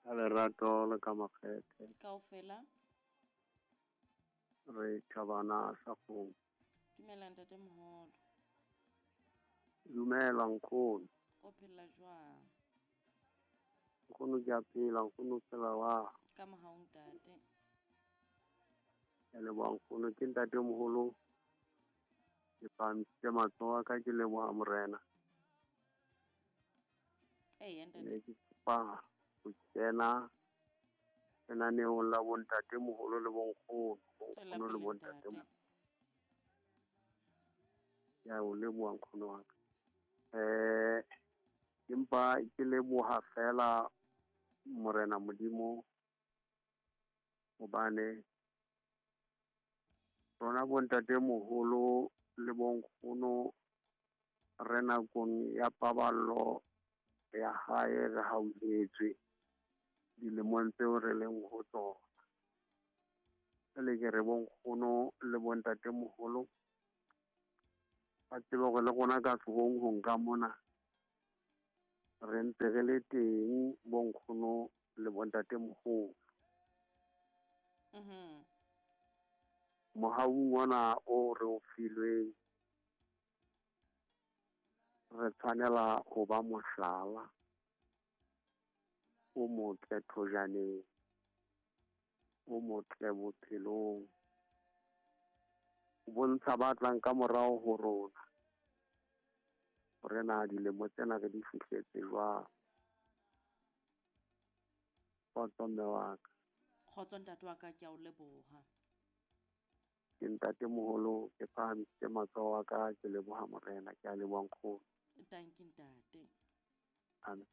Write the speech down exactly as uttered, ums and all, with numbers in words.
Ka lerato le ka makgethe. Kaofela. Re thabana sa kgomo. Dumela ntate moholo. Dumela nkgono. O phela jwang? Nkgono ke a phela, nkgono o phela wa. Ka mohau ntate. Ke a leboha nkgono, ke ntate moholo. Ke phahamisitse matsoho a ka ke leboha morena. Eya ntate. Ne ke kopa ho kena lenaneong la bontate moholo le bonkgono, Tswela bonkgono le pele bontate ntate. Ke a o leboha nkgono wa ka. Eh, empa ke leboha fela morena Modimo hobane rona bontate moholo le bonkgono re nakong ya paballo ya hae re hauhetswe dilemong tseo re leng ho tsona. Jwale ke re bonkgono le bontate moholo ba tsebe hore le rona ka sehong ka mona re ntse re le teng bonkgono le bontate moholo. Mhm. Mohaung ona o re o filweng re tshwanela ho ba mohlala o motle thojaneng, o motle bophelong. O bontsha ba tlang ka morao ho rona hore na dilemo tsena re di fihletse jwang. Kgotso mme wa ka. Kgotso ntate wa ka, ke a o leboha. Ke ntate moholo, ke phahamisitse matsoho a ka, ke leboha morena, ke a leboha nkgono. Tanki ntate. Amen.